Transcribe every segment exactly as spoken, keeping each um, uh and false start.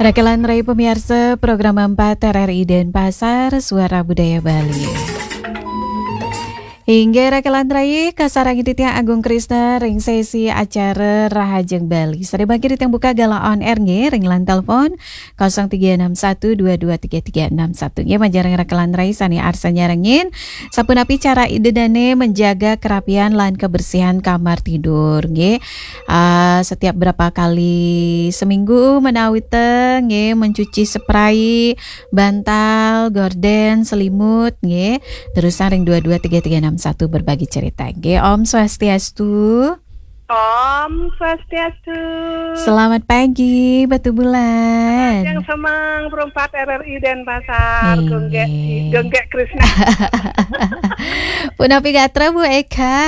Rakelan rai pamiarsa program empat R R I Denpasar, Suara Budaya Bali. Inggih rakelan rai, kasarengin titiang Agung Krisna ring sesi acara Rahajeng Bali. Sare mangkin titiang buka galah on air nggih ring line telepon kosong tiga enam satu dua dua tiga tiga enam satu. Nggih, majeng ring rakelan rai sane arsa nyarengin, sapunapi cara Ida dane menjaga kerapian lan kebersihan kamar tidur nggih. Ah, setiap berapa kali seminggu menawi te nggih, mencuci spray, bantal, gorden, selimut nggih. Terus ring dua dua tiga tiga enam satu berbagi cerita nggih. Om Swastiastu. Om Swastiastu. Selamat pagi, Batu Bulan. Yang semang perempat R R I Denpasar, Inggih. Gunggek, Gunggek Krisna. Punapi gatra, Bu Eka?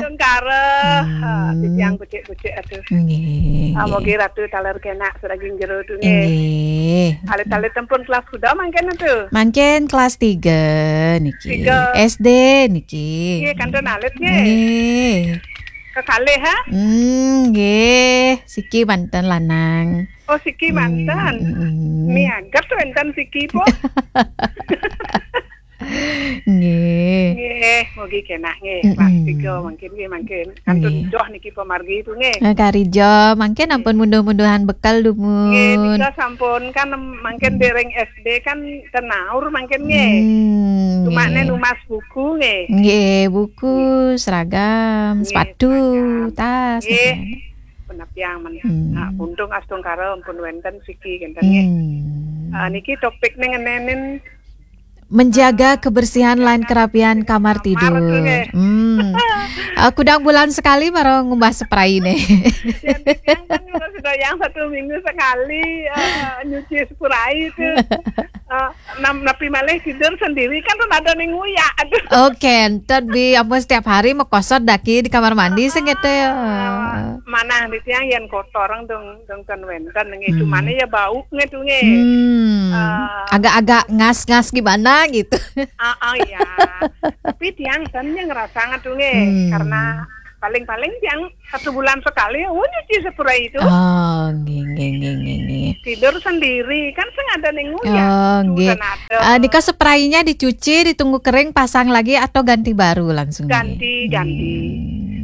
Astungkara. Hmm. Ah, titiang becik-becik, aduh. Nggih. Ah, mogi Ratu taler kenak sareng jero tu nggih. Nggih. Alit-alit pun kelas kuda mangkin tu? Mangkin kelas tiga niki. Tiga. S D niki. Nggih, kantun alit nggih. Nggih. Kekalih, ha? Hmm, nggih. Siki manten lanang. Oh, siki manten. Hmm, hmm, hmm. Miaget wenten siki po. Nggih. Nggih, mugi kenak nggih. Mm-mm. Kelas tiga mangkin nggih, mangkin. Kantun Nggih. Joh niki pamargi tu nggih. Eh, kari joh, mangkin ampun munduh-munduhan bekal dumun. Nggih, nika sampun kan mangkin dereng S D kan tenaur mangkin nggih. Hmm, Cuma nggih. Ne numbas buku nggih. Nggih, buku, Nggih. Seragam, Nggih, sepatu, seragam. Tas, Nggih. Nggih. Penapiang men. Hmm. Nah, untung astungkara ampun wenten siki kenten nggih. Hmm. Ah, niki topikne ngenenin Menjaga kebersihan lan kerapian kamar Kamar tidur. Nggih. Hmm. Ah, kudang bulan sekali mara ngumbas spray ne. Yang, yang kan sudah yang satu minggu sekali, eh, nyuci spray itu. Eh, nam-, napi malih tidur sendiri kan pun ada ning nguyak. Aduh. Oke, entet bi ampun setiap hari mekosot daki di kamar mandi sing gitu ya. Ah, manah di tiang yen kotor dong dong kan wenten nggih. Hmm. Cumane ya bau nggih tu nggih. Hmm. Ah. Agak-agak ngas-ngas gimana gitu. Ah, ah, iya. Tapi tiang kan yang ngerasa ngetu nggih, Hmm. karena paling-paling tiang satu bulan sekali, oh, nyuci spray itu. Oh, nggih, nggih, nggih, nggih, nggih. Tidur sendiri, kan sing ada ning nguyak. Oh, Itu nggih. Kan ada. Ah, nika spraynya dicuci, ditunggu kering, pasang lagi atau ganti baru langsung nggih? Ganti, ganti.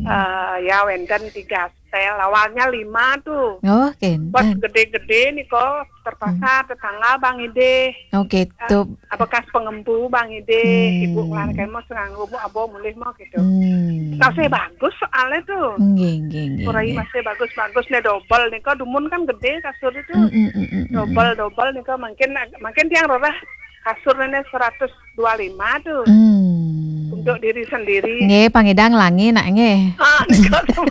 Hmm. Eh, ya, wenten tiga setel. Awalnya lima tuh. Oh, Pas kenten. Gede-gede nika terpaksa Hmm. tetangga Bang Ide. Oh, gitu. Eh, bekas pengempu Bang Ide, Hmm. Ibu ngelarke mah sing nganggo, Bu, abo mulih mah gitu. Hmm. Tasih bagus soalnya tuh. Nggih, nggih, nggih, Spray nggih. Masih bagus-bagus nih, double nih. Kok dumun kan gede kasur itu. Hmm, hmm, hmm, hmm, hmm. Double, double nih kok makin, makin tiang rorah kasur ini seratus dua lima tuh. Hmm. Untuk diri sendiri. Nggih, pangidang langi nak nggih. Ah, nika tuh.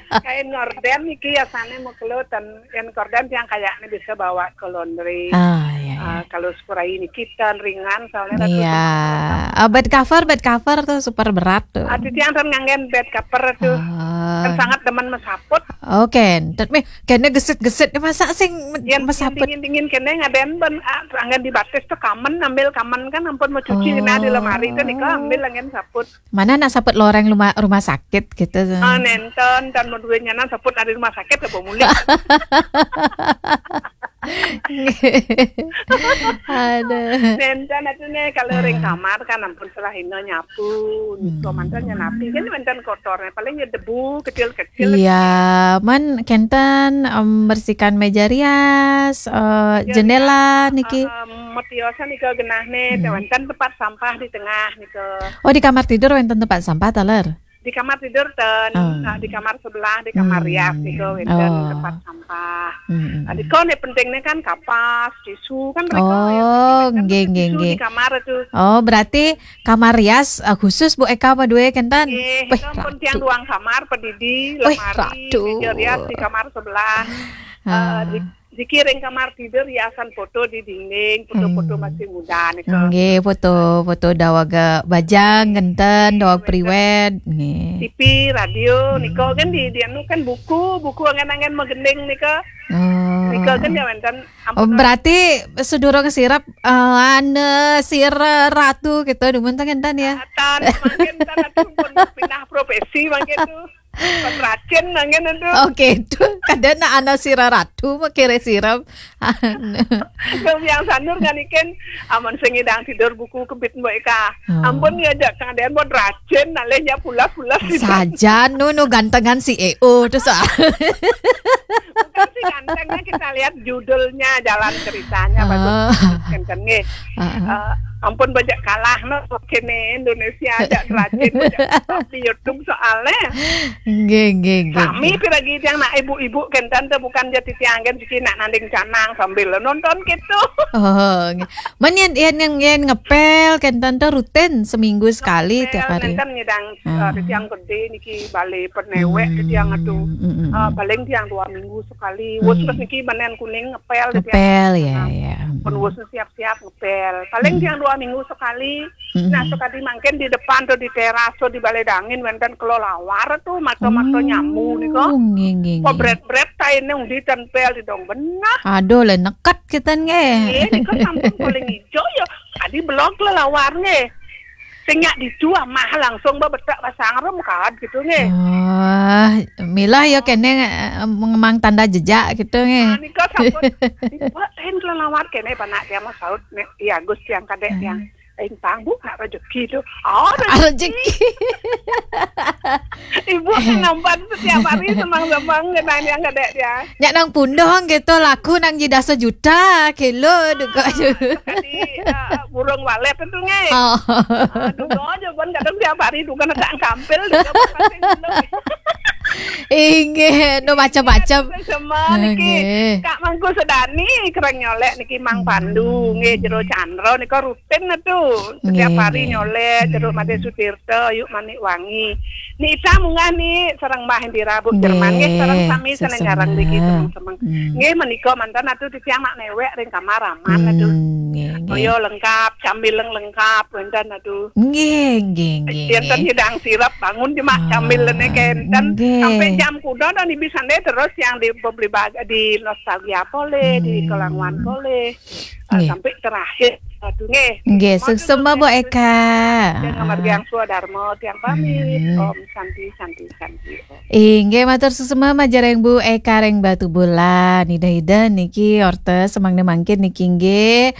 Kain ngorden niki yasane mau kelutan. Yen korden tiang kayaknya bisa bawa ke laundry. Ah, iya, iya. Ah, kalau spray niki ten ringan soalnya Ratu Iya. Tumpang. Ah, bed cover, bed cover tuh super berat tuh. Ah, titiang ten nganggen bed cover tuh. Ah. Kan sangat demen mesaput. Oke, entet mih kene gesit-gesit masa sing me-, Yen mesaput. Dingin-dingin kene ngaden ben, ah, anggen dibatis tuh kamen, ambil kamen kan ampun mau cuci Oh. Nah di lemari tuh nika ambil anggen saput. Mana nak saput loreng rumah, rumah sakit gitu. Ah, nenten, dan mau duitnya nan saput dari rumah sakit apa mulih. Aduh. Nenten itu nih kalau ring Ah. Kamar kan ampun salah ino nyapu. Hmm. Komandan nyenapi kan mantan kotornya paling ya debu kecil-kecil. Iya, man kenten, em, bersihkan meja rias, eh, Meja jendela rias, niki. Eh, em, metiosan nika genahne, Hmm. wenten tempat sampah di tengah nika. Oh, di kamar tidur wenten tempat sampah taler? Di kamar tidur ten, Oh. ah, di kamar sebelah, di kamar Hmm. rias nika wenten Oh. tempat sampah. Hmm. Ah, nika ne pentingnya kan kapas, tisu kan mereka Oh, yang penting kan nggih, nggih, tisu nggih. Di kamar itu. Oh, berarti kamar rias, eh, khusus Bu Eka apa dua kenten? Nggih, Wih, itu pun tiang ratu. Ruang kamar, pedidi, Wih, lemari, ratu. Meja rias di kamar sebelah. Ah. Eh, di Dikiring kamar tidur hiasan foto di dinding, foto-foto Hmm. Masih muda nika. Nggih, foto-foto daweg bajang, kenten, daweg priwed, nggih. T V, radio, Hmm. nika kan di, di anu kan buku, buku angen-angen magending nika. Oh. Nika kan ya wenten, Oh, ampun. Berarti sedurung sirep, eh, ane sira ratu gitu, dumun teng enten ya? Ah, tan, mangkin tan atu pun pindah profesi mangkin tu. Kon racin nangin itu. Oke, itu kadang nak anak sira ratu makire sira. Dong yang sandur nganikin aman sing idang tidur buku kebit Mbok Eka. Oh. Ampun ya jak kang adean buat racin nalih ya pulas-pulas. Saja nu nu gantengan si E O tuh soal. Bukan sih gantengnya, kita lihat judulnya, jalan ceritanya bagus. Ah. Kenten nggih. Ah, ah. Eh, ampun bajak kalah no kene Indonesia aja racin bajak di YouTube soalnya. Nggih, nggih, nggih. Sami piragi yang nak ibu-ibu kenten tuh bukan jadi tiangen siki nak nanding canang sambil nonton gitu. Oh, nggih. Men yang yang yang, yang ngepel kenten tuh rutin seminggu sekali tiap hari. Nenten nyedang Ah. eh, di tiang gede niki balik penewek di tiang itu. Hmm, hmm, hmm. Eh, paling tiang dua minggu sekali. Wes Hmm. terus niki menen kuning ngepel di tiang. Ngepel ya, ya. Pun wes siap-siap ngepel. Paling Hmm. tiang dua minggu sekali. Hmm. Nah, sekali mangkin di depan tuh di teras tuh di balai dangin wenten kelelawar tuh mata-mata Oh, nyambu nika. Nggih, nggih, nggih. Kok bret-bret taine undi tempel di dong benah. Aduh, le neket kita nggih. Iya, nika sampun paling hijau ya. Tadi belok lelawar nggih. Sing nyak ditu amah langsung bebetak pasang rem kad gitu nggih. Oh, milah ya kene eh, memang tanda jejak gitu Nah, nggih. nika sampun dibuat lain lelawar kene panak dia mah saut nek iya Gus tiang kadek tiang. Ing tang bu nak rezeki tu. Oh, Ah, rezeki. Ibu kan nampan setiap hari semang-semang kena yang kadek dia. Nyak nang pundong gitu laku nang jida sejuta kilo juga. Tadi uh, burung walet itu nggih. Oh. Aduh, aja pun kadang tiap hari tu kan tak kampil juga pasti dulu. Inggih, no macam-macam. Semua niki Nggih. Kak Mangku Sedani kereng nyolek niki Mang Pandu nggih jero Chandra nika rutin tu. Setiap Nggih, hari nggih. Nyolek jero Made Sutirta yuk Manik Wangi. Ni Ita munggah ni sareng Mbah Indira Bu Jerman nggih sareng sami seneng garang niki semeng-semeng. Nggih menika mantan atu titiang nak newek ring kamar aman atu. Hmm, nggih, nggih. Toya lengkap, camilan lengkap wenten atu. Nggih, nggih, nggih. Yen ten Nggih. Nyidang sirep bangun cuma Ah, camilan kenten. nggih. Sampai jam kuda dan ibi sande terus yang di beli bag- di nostalgia boleh, di Hmm. Kelangwan boleh. Ah, Nggih. Sampai terakhir. Aduh nggih. Nggih, Matur suksma nuwun. Bu Eka. Yang Ah. Margiang Swadarma tiang pamit. Hmm. Om Santi Santi Santi. Om. Inggih matur suksma majareng Bu Eka ring Batubulan. Ida-ida niki orta semangke mangkin niki nggih.